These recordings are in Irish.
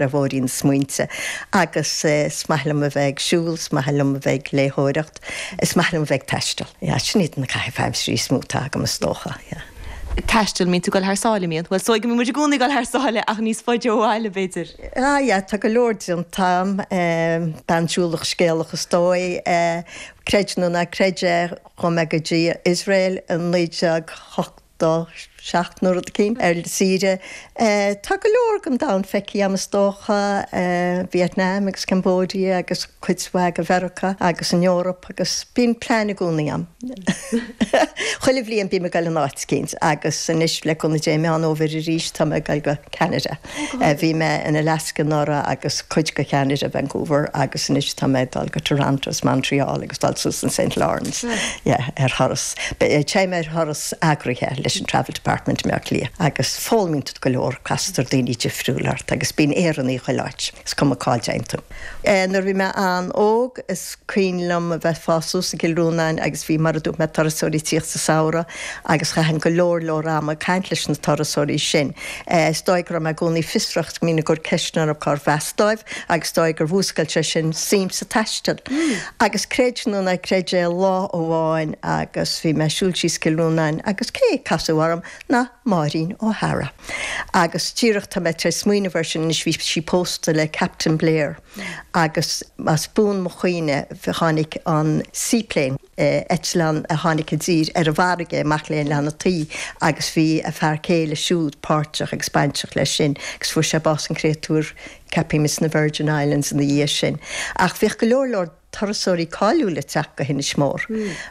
Ar bhóithrín na smaointe agus is maith liom a bheith ag siúl, is maith liom a bheith ag léitheoireacht, is maith liom a bheith ag taisteal. Yeah, sin iad na caithimh aimsire is mó atá agam is dócha, yeah. Taisteal, mbíonn tú ag dul thar sáile, mbíonn? Bhuel, is dóigh go mbíonn muid i gcónaí ag dul thar sáile ach níos faide ó bhaile, b'fhéidir. Ah yeah, tá go leor déanta agam, bean siúlach scéalach is dóigh. Creid nó ná creid é, chuaigh mé go dtí Iosrael i 1987 nó rud eicínt ar saoire. Tá go leor den domhan feicthe agam is dócha, Vietnam agus Cambodia agus cuid mhaith de Mheiriceá agus an Eoraip agus bíonn plean i gcónaí agam. Chuile bhliain bím ag dul in áit eicínt agus anois le cúnamh Dé i Meán Fhómhair arís tá mé ag dul go Ceanada. Bhí mé in Alaska anuraidh agus cuid de Cheanada, Vancouver, agus anois tá mé ag dul go Toronto is Montreal agus dul suas an St Lawrence, yeah, ar thuras. Téim ar thuras eagraithe leis an Travel Department i mBleá Cliath agus foghlaimíonn tú go leor, castar daoine difriúla ort agus bíonn Éireannaigh chuile áit, is cuma cá dtéann tú. Nuair a bhí mé an-óg, is cuimhin liom a bheith ag fás suas i gCill Rónáin agus bhí, mar a dúirt mé, turasóirí ag tíocht sa samhradh agus chaithinn go leor leor ama ag caint leis na turasóirí sin. Is dóigh go raibh mé i gcónaí fiosrach, go mbínn ag cur ceisteanna orthu cárbh as dóibh agus is dóigh gur mhúscail sé sin suim sa taisteal. Agus creid nó ná creid é, lá amháin agus bhí mé ag siúl síos Cill Rónáin agus cé a casadh orm ná Máirín O'Hara. Agus díreach tá mé tar éis smaoineamh air sin anois, bhí sí pósta le Captain Blair agus as buan mo chuimhne tháinig an seaplane, eitleán a tháinig i dtír ar an bhfarraige amach le Oileán an tSaoi agus bhí a fear céile siúd páirteach agus bainteach leis sin agus fuair sé bás an créatúr ceapaim sna Virgin Islands ina dhiaidh sin. Ach bhíodh go leor leor turasóirí cáiliúla ag teacht go hInis Mór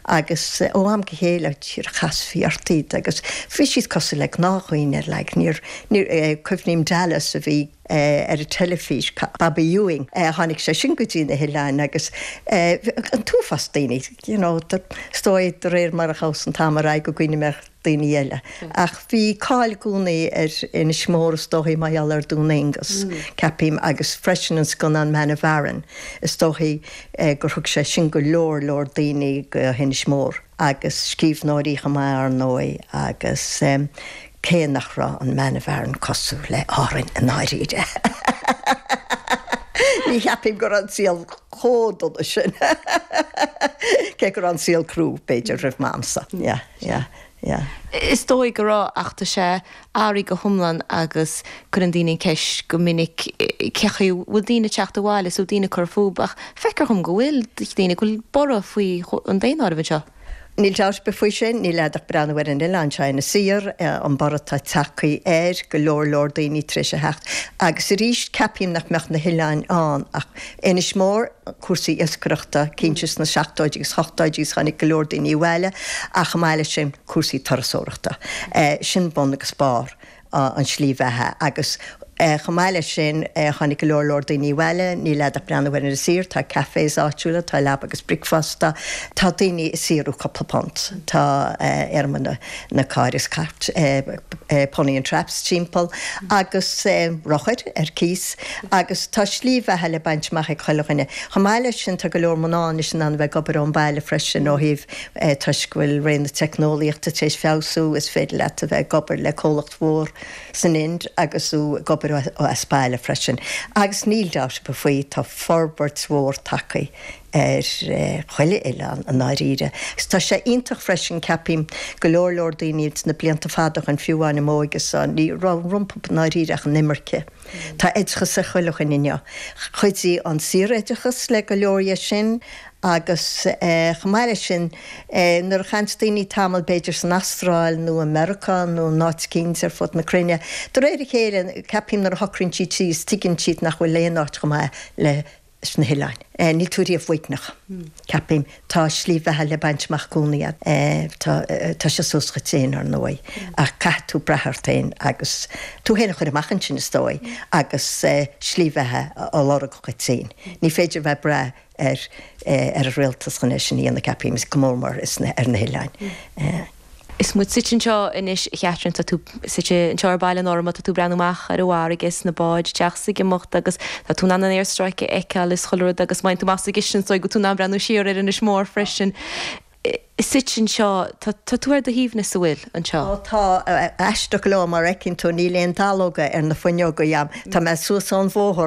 agus ó am go chéile díreach chasfaí ort iad agus bhí siad cosúil le gnáthdhaoine like níor, níor, cuimhním Dallas a bhí ar an teilifís, Bobby Ewing, tháinig sé sin go dtí na hoileáin agus an t-uafás daoine, you know, is dóigh de réir mar a chuas an t-am ar aghaidh go gcuimhnigh mé ar daoine eile. Ach bhí cáil i gcónaí ar Inis Mór is dóichí mar gheall ar Dún Aonghus, ceapaim, agus freisin an scannán Man of Aran, is dóichí gur thug sé sin go leor leor daoine go hInis Mór. Agus scríbhneoirí chomh maith ar ndóigh agus cé nach raibh an Man of Aran cosúil le Árainn i ndáiríre ní cheapaim go raibh an saol chomh dona sin cé go raibh an saol crua b'fhéidir roimh m'amsa. Yeah. Yeah, yeah. Is dóigh go raibh, ach tá sé athraithe go hiomlán agus cuireann daoine an cheist go minic cén chaoi a bhfuil daoine ag teacht abhaile is bhfuil daoine ag cur fúthu ach feictear dhom go bhfuil daoine, go bhfuil borradh faoi an daonáireamh anseo. Níl dabht ar bith faoi sin, níl agat ach breathnú ar an oileán seo, Inis Oírr, an borradh atá tagtha air, go leor leor daoine tar éis a theacht. Agus arís, ceapaim nach mbeadh na hoileáin ann ach Inis Mór, cúrsaí iascaireachta, cinnte sna seachtóidí agus ochtóidí agus tháinig go leor daoine abhaile ach chomh maith leis sin cúrsaí turasóireachta. Sin bun agus barr an slí bheatha agus chomh maith leis sin tháinig go leor leor daoine abhaile, níl agat ach breathnú ar Inis Oírr, tá cafés áitiúla, tá leaba agus bricfeasta, tá daoine ag saothrú cúpla punt, tá ar na cairr is cairt, pony and traps timpeall agus rothair ar cíos agus tá slí bheatha le baint amach ag chuile dhuine. Chomh maith leis sin tá go leor mná anois in ann a bheith ag obair ón baile freisin ó thaobh toisc go bhfuil ré na teicneolaíochta tar éis feabhsú is féidir leat a bheith ag obair le comhlacht mhór san Ind agus tú ag obair as baile freisin. Agus níl dabht ar bith faoi tá forbairt mhór tagtha ar chuile oileán i ndáiríre. Agus tá sé iontach freisin, ceapaim, go leor leor daoine sna blianta fada ó shin, fiú amháin i m'óige-sa, ní raibh rompu i ndáiríre ach an imirce. Tá oideachas ag chuile dhuine inniu. Chuidigh an saoroideachas le go leor dhe sin agus chomh maith leis sin, nuair a chaitheanns daoine tamall b'fhéidir san Astráil nó i Meiriceá nó in áit eicínt ar fud na cruinne, de réir a chéile, ceapaim nuair a shocraíonn siad síos, tuigeann siad nach bhfuil aon áit chomh maith le sna hoileáin. Níl tú riamh uaigneach, ceapaim. Tá slí bheatha le baint amach i gcónaí agat. Tá, tá sé suas dhuit féin, ar ndóigh, ach caithfidh tú brath ort féin agus tú féin a chur amach ansin, is dóigh, agus slí bheatha a lorg dhuit féin. Ní féidir a bheith ag brath ar, ar an rialtas chun é sin a dhéanamh, ceapaim, go mór mór ar na hoileáin. Is muid suite anseo anois, a Chatherine, tá tú suite anseo ar baile in Ormeau, tá tú ag breathnú amach ar an bhfarraige is na báid ag teacht is ag imeacht agus tá tú in ann an aerstráice a fheiceáil is chuile rud agus má théann tú amach sa gcistin is dóigh go bhfuil tú in ann breathnú siar ar Inis Mór freisin. Suite anseo, tá tú ar do shuaimhneas, an bhfuil, anseo? Ó tá, aisteach go leor mar fheiceann tú níl aon dallóga ar na fuinneoga a'm, tá mé suas ón bhóthar.